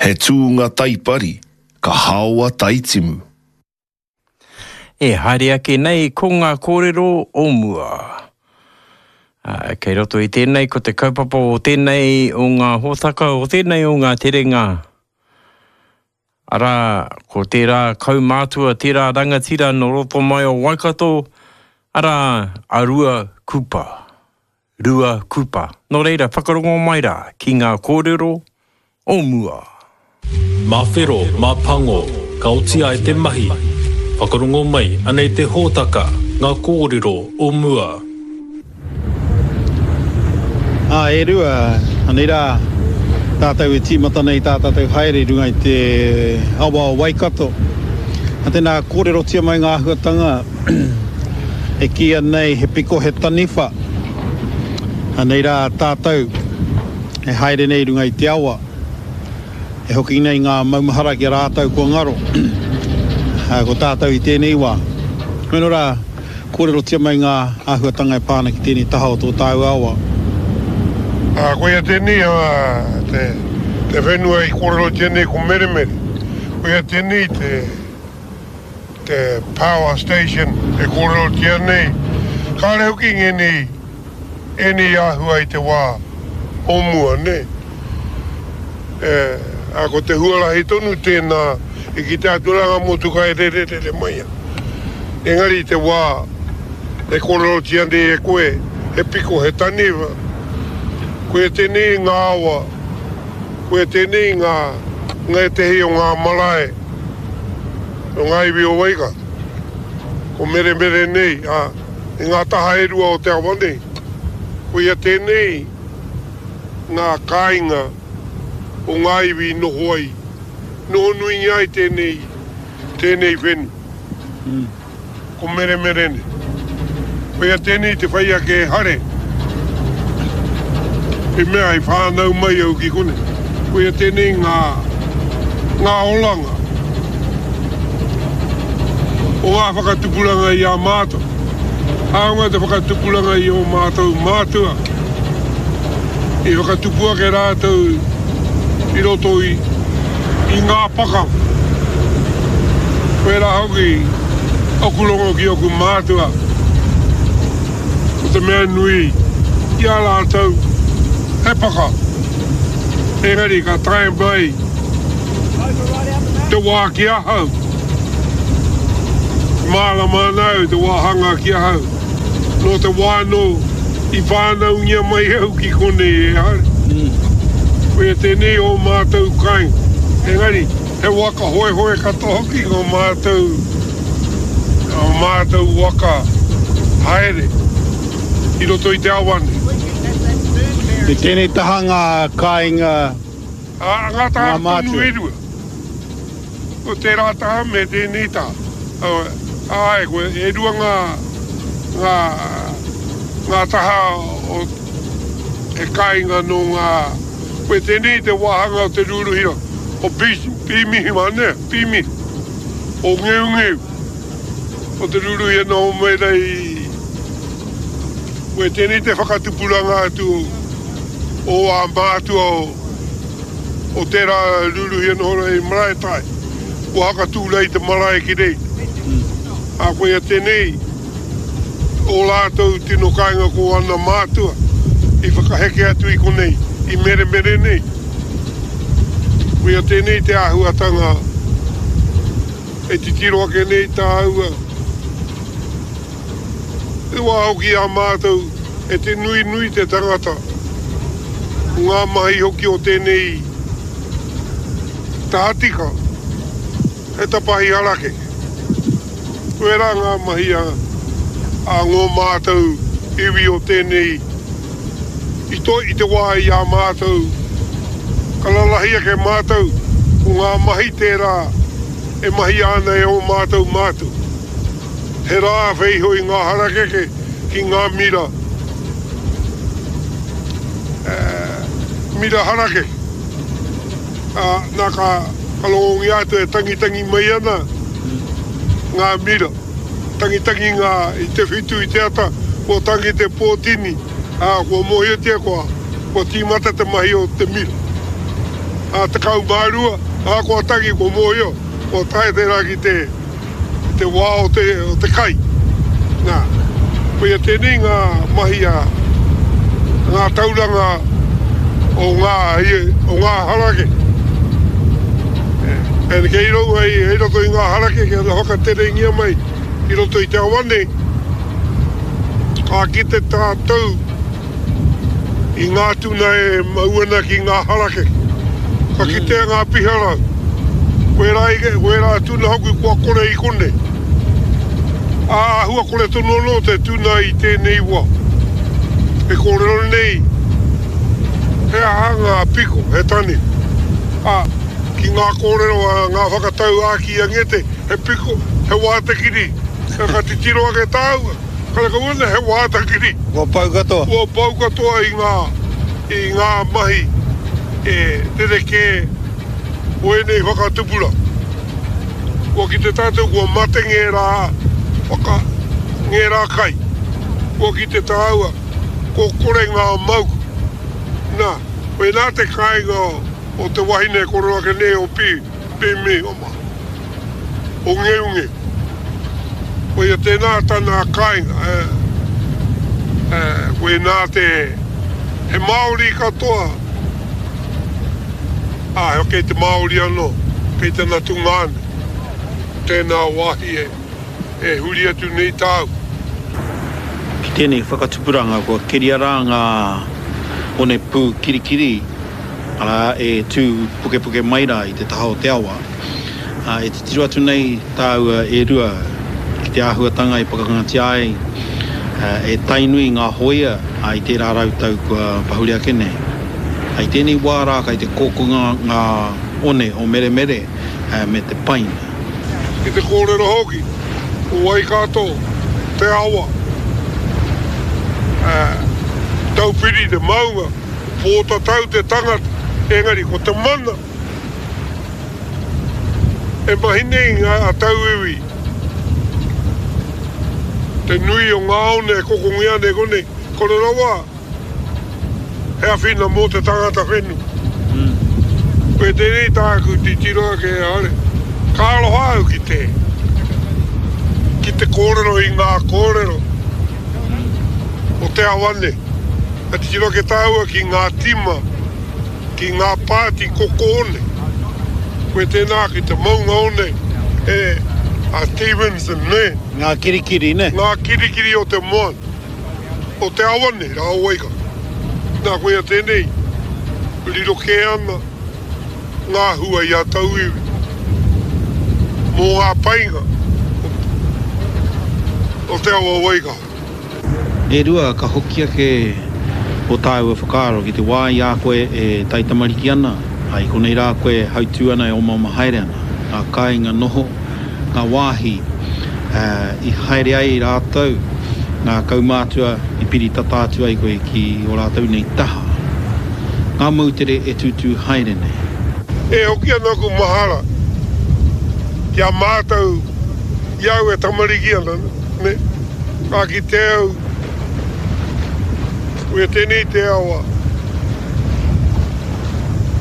He tūnga taipari, ka haoa taitimu. E haere ake nei ko ngā kōrero o mua. Ā, kei roto i tēnei ko te kaupapa o tēnei o ngā hōtaka, o tēnei o ngā terenga, arā, ko tērā kaumātua, tērā rangatira nō roto mai o Waikato, arā, a Rua Kupa. Rua Kupa. Nō reira, whakarongo mai rā ki ngā kōrero o mua. Mā whero, mā pango, ka oti ai te mahi. Whakarongo mai, anei te hōtaka, ngā kōrero o mua. Ā, e Rua, anei rā tātou e tīmata nei tā tātou haere i runga i te awa o Waikato. Ā, tēnā, kōrerotia mai ngā āhuatanga. E kīia nei he piko he taniwha. Anei rā tātou e haere nei i runga i te awa. E hoki nei ngā maumahara ki a rātou kua ngaro. Ko tātou i tēnei wā. Hoi anō rā, kōrerotia mai ngā āhuatanga e pā ana ki tēnei taha o tō tāua awa. Ā, koia tēnei te whenua i kōrerotia nei ko Meremere. Koia tēnei te. te power station e kōrerotia nei, kāre hoki ngēnei, ēnei āhua i te wā o mua, nē. E, ā, ko te huarahi tonu tēnā i kite atu rā ngā motuka e rererere mai ana. Engari i te wā e kōrerotia nei e koe, he piko, he taniwha, koia tēnei ngā awa, koia tēnei ngā, ngētehi o ngā marae, o ngā iwi o Waikato. Ko Meremere nei, ā, i ngā taha e rua o te awa nei, koia tēnei ngā kāinga o ngā iwi i noho ai, noho nuingia ai tēnei, tēnei whenua. Ko Meremerene. Koia tēnei te whai ake e Hare, i mea i whānau mai au ki konei. Koia tēnei ngā, ngā oranga o ngā whakatupuranga i a mātou. Hāunga te whakatupuranga i ō mātou mātua, i whakatupu ake rātou i roto i, i ngā pakanga. Pērā hoki oku rongo ki oku mātua, ko te mea nui ki a rātou he pakanga. Engari ka tae mai te wā ki ahau, mārama ana au te wāhanga ki ahau. Nō te wā anō i whānaungia mai au ki konei e Hare. Koia tēnei ō mātou kāinga. Engari, he waka hoehoe katoa hoki ngō mātou, ō mātou waka haere i roto i te awa nei. I tēnei taha ngā kāinga, Ā, ngā taha ngā tonu mātua. e rua. Ko tērā taha me tēnei taha. Āe, ko e rua ngā, ngā, ngā taha o he kāinga nō ngā, koe tēnei te wāhanga o te rūruhira o Pīmihima, nē, Pīmihi, o Ngeungeu, o te rūruhi e noho mai rā i, koe tēnei te whakatupuranga atu o ā mātua o. o tērā rūruhi e noho nei i Maraetai, kua hakatū rā i te marae ki reira. Ā, koia tēnei ō rātou tino kāinga ko ana mātua i whakaheke atu i konei, i Meremere nei. Koia tēnei te āhuatanga e titiro ake nei tāua. I wā hoki a mātou e te nui nui te tangata, ko ngā mahi hoki o tēnei tahatika he tapahi harakeke. Koirā ngā mahi a a ngō mātou iwi o tēnei i to i te wā i a mātou ka rarahi ake mātou ko ngā mahi tērā e mahia ana e ō mātou mātua. He rā wheiho i ngā harakeke ki ngā mira, mira harakeke. Ā, nā ka, ka rongongia atu e tangitangi mai ana ngā mira. Tangitangi ngā, i te whitu i te ata, kua tangi te pōtini, ā, kua mōhiotia kua, kua tīmata te mahi o te mira. ā, 12, ā, kua tangi, kua mōhio, kua tae tērā ki te, ki te wā o te, o te kai. Nā, koia tēnei ngā mahi a ngā tauranga o ngā, o ngā harakeke. And kei roa i roto i ngā harakeke ana whakaterengia mai i roto i te awa nei, ka kite tātou i ngā tuna e mau ana ki ngā harakeke. Ka kitea ngā piharau, wērā, wērā tuna hoki kua kore i konei. Ā, āhua kore tonu anō te tuna i tēnei wā. E kōrero nei, he aha ngā piko, he taniwha. Ā, ki ngā kōrero a ngā whakatauākī a Ngete, he piko, he wātekiri. Ka titiro ake tāua, Karekau ana he wātakiri. Kua pau katoa. Kua pau katoa i ngā, i ngā mahi e rerekē o ēnei whakatupuranga. Kua kite tātou kua mate ngērā whaka, ngērā kai. Kua kite tāua kua kore ngā mauku. Nā, koinā te kāinga o te wahine e koro ake nei o Pi, Pi Mihoma. O Ngeunge. Koia tēnā tana kāinga, e, koinā te, he Māori katoa, ā, kei te Māori anō, kei tana tungāne, tēnā wāhi e, e huri atu nei tāu. Ki tēnei whakatupuranga kua keria rā ngā onepū kirikiri, arā, e tū pukepuke mai rā i te taha o te awa. Ā, e titiro atu nei tāua e Rua ki te āhuatanga i pakangatia ai e Tainui ngā hōia i tērā rautau kua pahure ake nei. I tēnei wā rā kai te kokonga ngā one o Meremere me te paina. Ki te kōrero hoki, ko Waikato te awa, ā, Taupiri te maunga, ko Pōtatau te tangata, engari ko te mana, E mahi nei ngā tauiwi te nui o ngā one e kokongia ana e konei, kore rawa he awhina mō te tangata whenua. Koe tēnei tāku titiro ake e haere, ka aroha au ki te, ki te kōrero i ngā kōrero o te awa nei. Ka titiro ake tāua ki ngā tima Ki ngā pāti koko one. Koe tēnā ki te maunga one e a Stevenson nē. Ngā kirikiri nē. Ngā kirikiri o te moana, o te awa nei rā o Waikato. Nā koia tēnei, riro kē ana ngā hua i a tauiwi mō ngā painga o te awa o Waikato. E Rua, ka hoki ake ō tāua whakaaro ki te wā i a koe e taitamariki ana, ā, i konei rā koe e hautū ana, e omaoma haere ana, ngā kāinga noho, ngā wāhi i haere ai rātou, ngā kaumātua i piri tata atu ai koe ki ō rātou nei taha, ngā moutere e tūtū haere nei. E hoki ana aku mahara ki a mātou i a au e tamariki ana, nē. Ka kite au, koia tēnei te awa.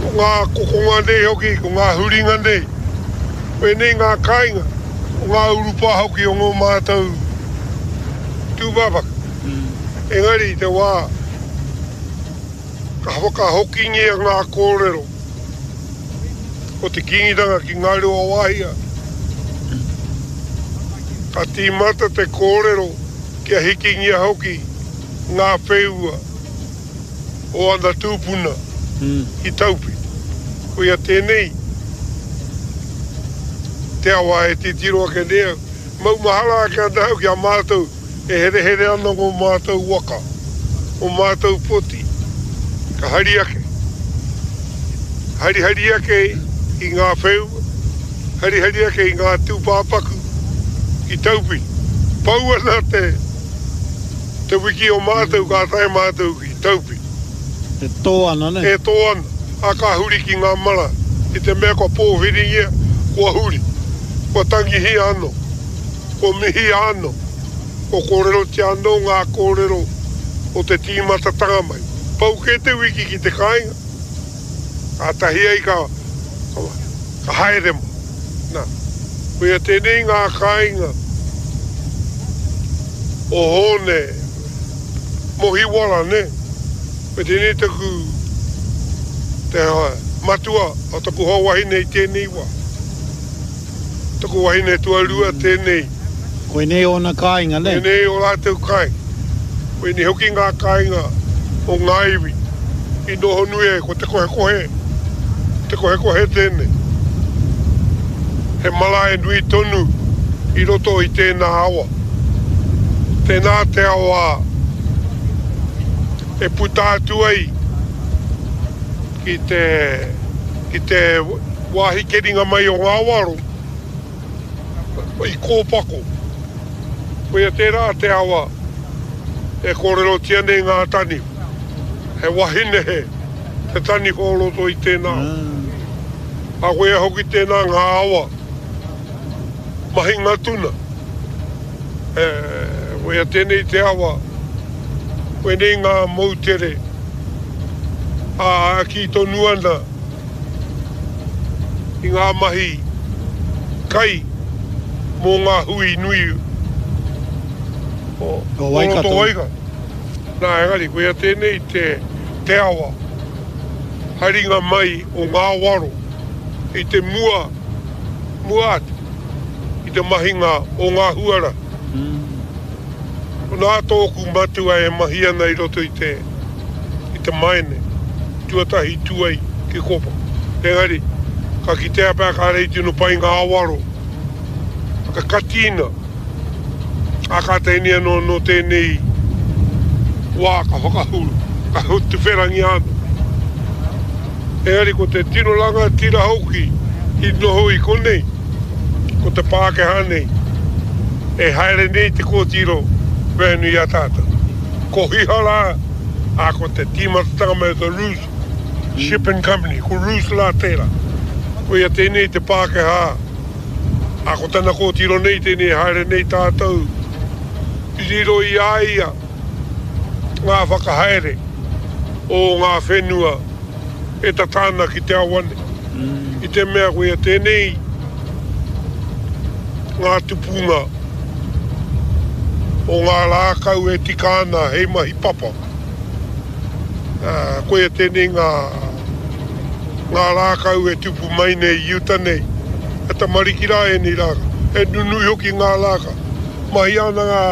Ko ngā kokonga nei hoki, ko ngā huringa nei, koinei ngā kāinga, ko ngā urupā hoki o ngō mātou tūpāpaku. Engari i te wā ka whakahokingia ngā kōrero o te Kīngitanga ki Ngāruawāhia, ka tīmata te kōrero kia hikingia hoki ngā wheua o ana tūpuna ki Taupi. Koia tēnei te awa e titiro ake nei au. Maumahara ake ana au ki a mātou E herehere ana ngō mātou waka, ō mātou poti, ka hari ake, harihari ake i ngā wheua, harihari ake i ngā tūpāpaku ki Taupiri. Pau ana te, te wiki o mātou ka tae mātou ki Taupiri. E tō ana, nē? E tō ana, ā, ka huri ki ngā marae. I te mea kua pōwhiringia, kua huri, kua tangihia anō. Kua mihia anō, kua kōrerotia anō ngā kōrero o te tīmatatanga mai. Pau kē te wiki ki te kāinga, Kātahi ai ka, ka, ka haere mai. Nā, koia tēnei ngā kāinga o Hōne Mohiwara, nē? Koia tēnei taku, te matua o taku hoa wahine i tēnei wā. Taku wahine tuarua tēnei. Koinei ōna kāinga, nē? Koinei ō rātou kāinga. Koinei hoki ngā kāinga o ngā iwi i noho nui ai ko Te Kohekohe, Te Kohekohe tēnei. He marae nui tonu i roto i tēnā awa. Tēnā te awa e puta atu ai ki te, ki te wāhi keringa mai o ngā waro i Kōpako. Koia tērā te awa e kōrerotia nei ngā taniwha. He wahine he te taniwha o roto i tēnā awa. Ā, koia hoki tēnā ngā awa mahinga tuna. E, koia tēnei te awa, koinei ngā moutere, ā, kī tonu ana i ngā mahi kai mō ngā hui nui o roto Waikato. Nā, engari, koia tēnei te, te awa haringa mai o ngā waro i te mua, mua atu i te mahinga o ngā huarahi. Nā tōku matua e mahi ana i roto i te, i te maene, tuatahi tū ai ki Kopa. Engari, ka kitea pea kāre i tino pai ngā waro, ka katina, ā, kātahi nei anō nō tēnei wā ka whakahuru, ka tuwherangia anō. Engari ko te tino rangatira hoki i noho i konei, ko te Pākehā nei, e haere nei te kōtiro whenua i a tātou. Ko Hiha rā, ā, ko te tīmatatanga mai o te Roos Shipping Company, ko Roos rā tērā. Koia tēnei te Pākehā, ā, ko tana kōtiro nei tēnei e haere nei tātou, i riro i a ia ngā whakahaere o ngā whenua e tata ana ki te awa nei. I te mea koia tēnei ngā tupunga o ngā rākau e tika ana hei mahi papa. Koia tēnei ngā, ngā rākau e tupu mai nei i uta nei. He tamariki rā ēnei rākau. He nunui hoki ngā rākau. Mahia ana ngā.